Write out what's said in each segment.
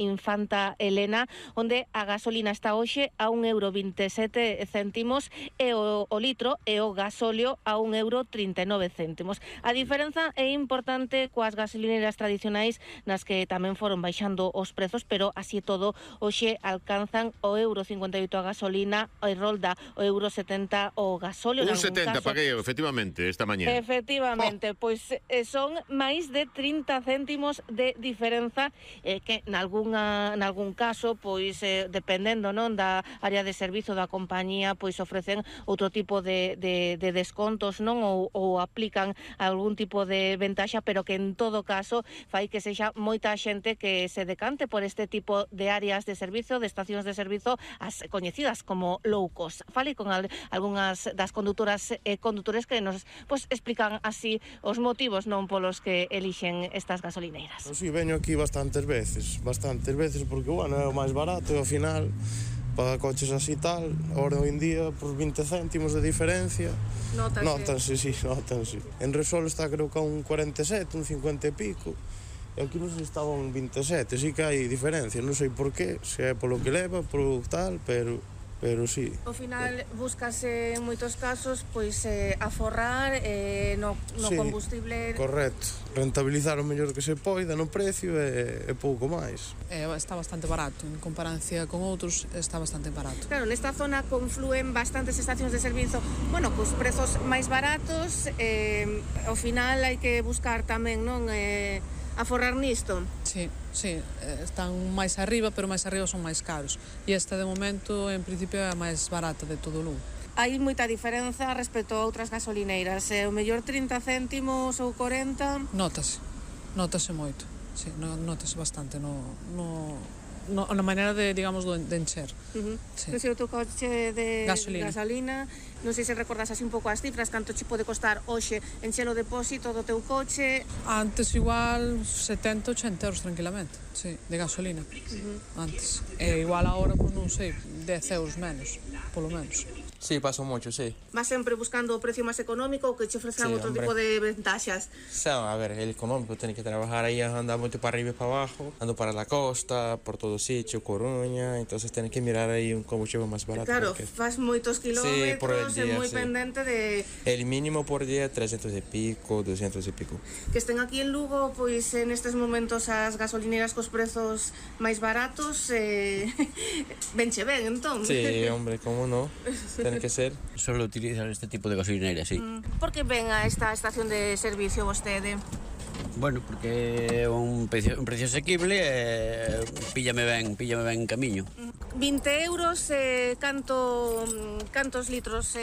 Infanta Elena, onde a gasolina está hoxe a 1,27 € e o litro e o gasóleo a 1,39 €. A diferenza é importante coas gasolineras tradicionais, nas que tamén foron baixando os prezos, pero así todo hoxe alcanzan o 1,58 € a gasolina e rolda o 1,70 € o gasóleo. 1,70 paguei, efectivamente, esta mañá. Efectivamente, pois son máis de 30 céntimos de diferenza, que nalgún caso, pois dependendo, non, da área de servizo da compañía, pois ofrecen outro tipo de descontos, non, ou aplican algún tipo de ventaxa, pero que en todo caso fai que sexa moita xente que se decante por este tipo de áreas de servizo, de estacións de servizo, as coñecidas como low cost. Falei con algunhas das condutoras e condutores que nos explican así os motivos, non, polos que elixen estas gasolineiras. Si, veño aquí bastantes veces, porque, bueno, é o máis barato e ao final para coches así tal, ahora hoy en día por 20 céntimos de diferencia. Nótanse. En Repsol está creo que a un 47, un 50 e pico. E aquí non sei se estaba un 27, sí que hai diferencia, non sei por qué, se é polo que leva, polo tal, pero sí. Ao final búscase en moitos casos pois aforrar no sí, combustible. Correcto, rentabilizar o mellor que se poida no precio e pouco máis. Está bastante barato, en comparancia con outros está bastante barato. Claro, nesta zona conflúen bastantes estacións de servizo, bueno, cos prezos máis baratos, ao final hai que buscar tamén, non, aforrar nisto. Sí, están máis arriba, pero máis arriba son máis caros. E esta, de momento, en principio, é a máis barata de todo o Lugo. Hai moita diferenza respecto a outras gasolineiras. O mellor 30 céntimos ou 40... Notase moito. Sí, notase bastante na maneira de, digamos, de encher. Sí. Se o teu coche de gasolina, non sei se recordas así un pouco as cifras, canto che pode costar hoxe encher o depósito do teu coche? Antes igual 70-80 € tranquilamente, sí, de gasolina. Antes. E igual agora, pues non sei, 10 € menos, polo menos. Sí, paso mucho, sí. Vas sempre buscando o precio máis económico ou que che ofrezcan outro tipo de ventaxas? A ver, el económico tiene que trabajar ahí, andar mucho para arriba y para abajo, ando para la costa, por todo sitio, Coruña, entonces tienes que mirar ahí un combustible más barato. Claro, faz moitos kilómetros, é moi pendente de... El mínimo por día 300 e pico, 200 e pico. Que estén aquí en Lugo, pois nestes momentos as gasolineras cos prezos máis baratos, venche ben, entón. Sí, hombre, cómo no, tiene que ser. Solo utilizan este tipo de gasolineras, sí. Por que ven a esta estación de servicio vostede? Bueno, porque é un precio asequible e píllame ben camiño. 20 €, cantos litros?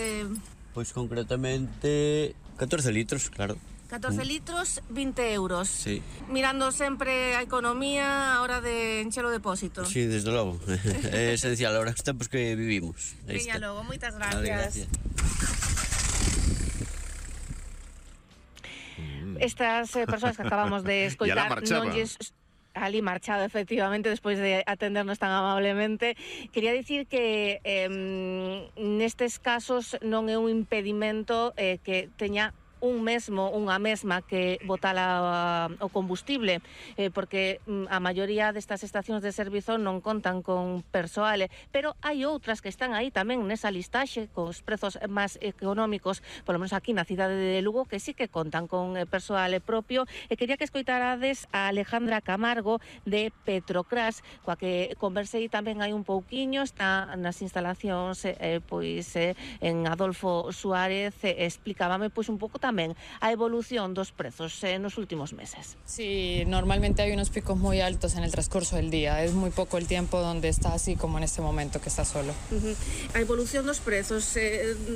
Pois concretamente 14 litros, claro. 14 litros, 20 €. Sí. Mirando sempre a economía a hora de encher o depósito. Sí, desde logo. É esencial ahora os tempos que vivimos. Veña logo, moitas gracias. Vale, gracias. Estas persoas que acabamos de escoitar non lles... Ali marchado, efectivamente, despois de atendernos tan amablemente. Quería dicir que nestes casos non é un impedimento que teña unha mesma que botala o combustible, porque a maioría destas estacións de servizo non contan con persoal, pero hai outras que están aí tamén nesa listaxe cos prezos máis económicos, polo menos aquí na cidade de Lugo, que sí que contan con persoal propio. E quería que escoitarades a Alejandra Camargo de Petrocras, coa que conversei tamén hai un pouquiño, está nas instalacións en Adolfo Suárez, explicábame un pouco tamén a evolución dos prezos nos últimos meses. Sí, normalmente hay unos picos muy altos en el transcurso del día. Es muy poco el tiempo donde está así como en este momento que está solo. A evolución dos prezos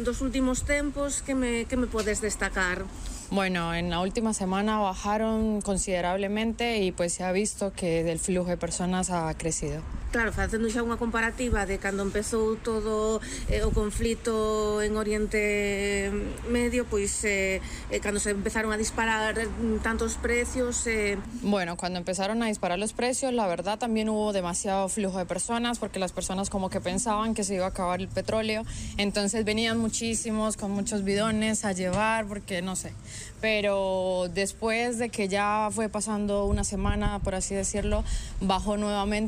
dos últimos tempos, que me podes destacar? Bueno, en la última semana bajaron considerablemente y pues se ha visto que el flujo de personas ha crecido. Claro, facendo xa unha comparativa de cando empezou todo o conflito en Oriente Medio, pois cando se empezaron a disparar tantos precios... Bueno, cuando empezaron a disparar los precios, la verdad también hubo demasiado flujo de personas, porque las personas como que pensaban que se iba a acabar el petróleo, entonces venían muchísimos con muchos bidones a llevar, porque no sé. Pero después de que ya fue pasando una semana, por así decirlo, bajó nuevamente